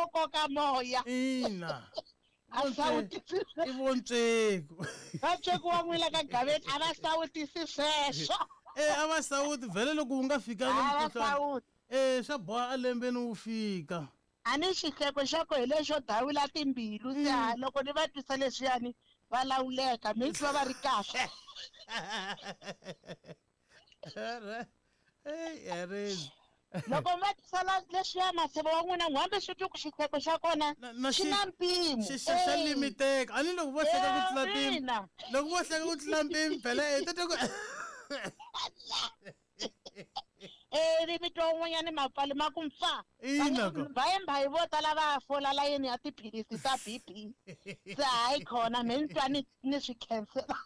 o koka moya. Ina. A sawutisi. I vontsweku. Vatsweku wa n'wina ka Gaveni a va sawutisi sweswo. Eh a va sawuti vhele loko wu nga fikanga A va mukhuhlwani. sawuti. Eh swa boha a lembeni wu fika. A ni xihleko xa ko hi lexo dawula timbilu se ha loko ni va twisa leswiyani va lawuleka mi twa va ri kahle. Hey, Erezi. Loko va twisa leswiya maseve wa n'wina n'wambe swi twi ku xihleko xa kona Na xi na mpimo. Xi xa xa Eh. limiteka. A ni loko vo hleka ku tlula mpimo. Ina. Loko vo hleka ku tlula mpimo phela eh tete ku Eh ri vito un'wanyana mapfalo ma ku mpfa. Ina ko. Mbayimbayi vo tala va fola layeni ya tiphilisi ta BP. Se hayi khona me ni twa ni ni swi khensela.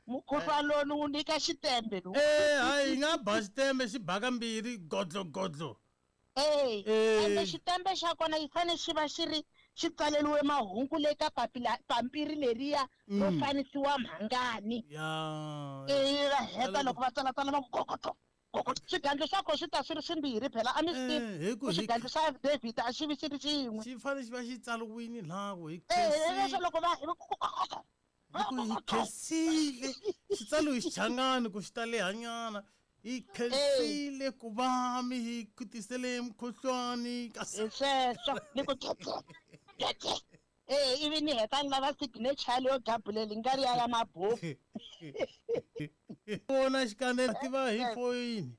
Mukhuhlwana lowu wu nyika xitembe lowu. Eh hayi hi nga ba xitembe xi baka mbirhi godlo godlo. Eh, Eh. ende xitembe xa kona yi fane xi va xi ri xi tsaleriwe mahungu le ka papila pampiri leriya ro fanisiwa mhangani. Ya. Eh va heta loko va tsalatsala va ku gogoto. Gogoto. Swigandlo swa kona swi ta swi ri swimbirhi phela a mi swi Eh, hi tivi. ku hi Xigandlo xa David a xi vi xi ri xin'we. xi fane xi va xi tsariwini laha ku hi Eh, leswo khensile. loko va hi ku gogoto. Hi ku hi khensile. Xi tsariwe hi xichangani ku xi ta lehanyana. Hi khensile ku va mi hi ku tisele mukhuhlwani kasi Hi sweswo ni ku tete tete. Eh, ivi ni heta ni lava signature leyo gabuleli nga ri ya ya mabuku. vona xikandza tiva hi foyini.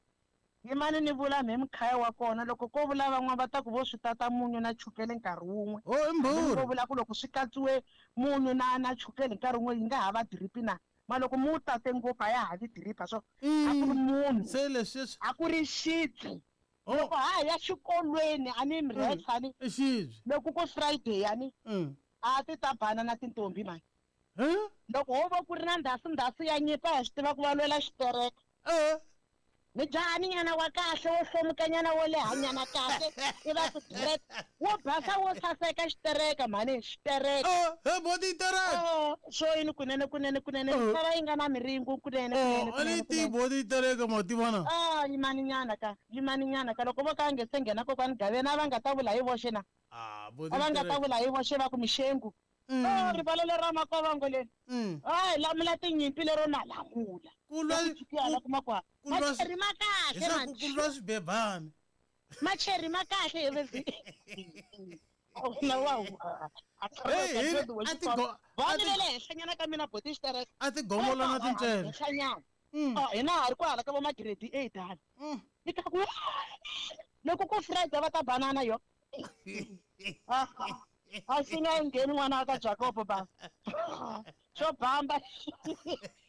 Yimani ni vula mhe mukhaya wa kona loko ko vula van'wana va ta ku vo swi tata munyu na chukele nkarhi wun'we. Oh i Ko mbhuri. vula ku loko swi katsiwe munyu na na chukele nkarhi wun'we yi nga ha va drip na. Ma loko mu tate ngopfu a ya ha vi drip so a ku ri munhu Se leswi a ku ri xibye. Oh Loko ha ha ya xikolweni a ni mresa ni i xibye. loko ku Friday yani a ti ta bana na tintombi mani. Eh? Loko ho va ku ri na ndhasi ndhasi ya nyimpi a hi swi tiva ku va lwela xitereka. Eh. Ni jahani nyana wa kahle wo hlomukanyana wo lehanyana kahle i va ku dread wo basa wo saseka xitereka mhani xitereka. Oh, he boti tereka. Oh, swo yini kunene kunene kunene Oh. misava yi nga na miringo kunene kunene Oh, a ni kunene ti kunene. boti tereka ma tivana. Ah, yimani nyana ka yimani nyana ka loko vo ka nge se nghena kokwani Gaveni a va nga ta vula hi voxe na Ah, boti a va nga ta tereka. vula hi voxe va ku mixengu. Oh, rivala lera makovango leri. Hayi lamula tinyimpi lero na lamula. Ku lwa Ku kuma kwa. ku lwa Macheri ma kahle hi swa man. ku lwa swibebani. Macheri ma kahle hi vezi. Na wa. Hey, hi a ti go a Voni ti le le henhlanyana ka mina boti xitereka. a ti gomola na tincele. Henhlanyana. Oh, hina ha ri kwala ka vo ma grade 8 hala. Ni ta ku loko ku Friday va ta banana yo. Ah, a swi nga ngheni n'wana wa ka Jacob ba. Xo bamba.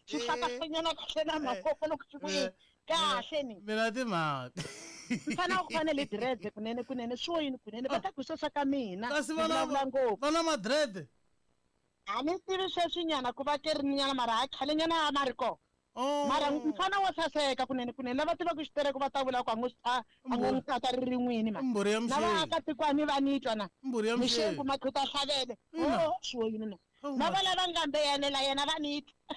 Xi hlakahlanyana kahle na mavoko loko xi ku yini. Kahle ni. Mina timhaka. Mfana wa ku fanele dread kunene kunene swo yini kunene va ta ku sweswa ka mina. Kasi Ni vana vulavula ngopfu. vana ma-dread. A ni tivi sweswinyana ku va ke ri nyana mara ha khale nyana a ma ri kona. Oh. Mara mfana wo saseka kunene kunene lava tivaka xitereko va ta vula ku a ngo a a ngo n'wi tata ri rin'wini mani. Mbhuri ya Na mxengu. vaakatiko va ni twa na. Mbhuri ya Mixengu mxengu. makhuta hlavele. Ina. Oh, swo yini na. Oh, Na ma- va lava nga mbeyanela yena va ni twa.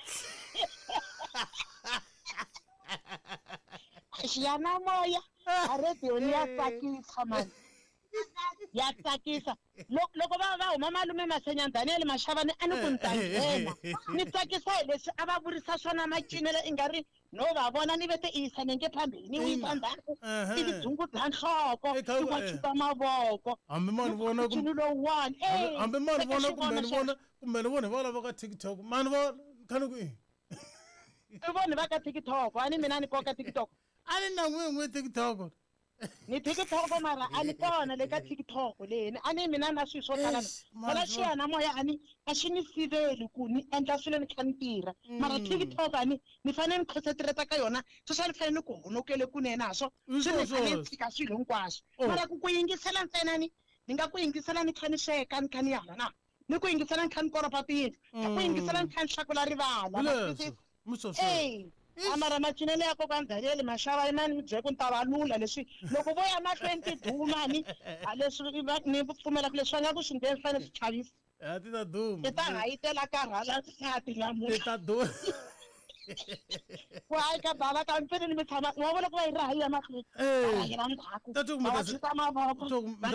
Xiyanimoya a radio ni ya tsakisa mani. Ya tsakisa. Loko va va huma malume Masenyani Daniel Mashavani a ni ku ni ta nghena. Ni tsakisa hi leswi a va vurisa swona macinelo i nga ri no va vona ni vete i yisa nenge phambili ni wisa ndzhaku Ehe. ivi dzungudza nhloko Eh, kha- i wa eh. chupa mavoko. Hambi ma ni vona Ncino lowuwani. Eh, hambi ma ni teka vona kumbe xivono ni xexo. vona kumbe ni vona hi valava ka TikTok. Ma ni vona khani ku i. I voni va ka TikTok a ni mina ni koka TikTok. A ni na n'we n'we TikTok. Ni TikTok mara a ni kona le ka TikTok leni a ni mina na swilo swo tala Eish, phela mara- xiyanimoya a ni a xi ni siveli ku ni endla swilo ni kha ni tirha mara TikTok a ni ni fanele ni concentrate ka yona sweswi a ni fanele ni ku honokele kunene ha swo Hi swi ni swona fanele ni sweswo. tshika swilo hinkwaswo Oh. mara ku ku yingisela ntsena ni ni nga ku yingisela ni kha ni sweka ni kha ni hala na ni ku yingisela ni kha ni koropa tiyindlu ni ku yingisela ni kha ni hlakula rivala Hi ma leswo. twisisa? Mi swo sweswo. Ey, a mara macinelo ya kokwani Daniel Mashava yimani mi byele ku ni ta va lula leswi loko vo ya mahlweni tiduma ni a leswi ni pfumelaka leswi va nga ku swi ndleni swi fanele swi chavisa. A ti ta duma. Ti ta hayitela karhala nsati Ti namuntlha. ta duma. Ku hayi ka bava ka mpfini ni mi tshama wa vona ku va yi raha yi ya mahlweni. Eh. Va rhayela ndzhaku. Ta ku mi Va ta wa se- chuta mavoko. ta ku mi Va ta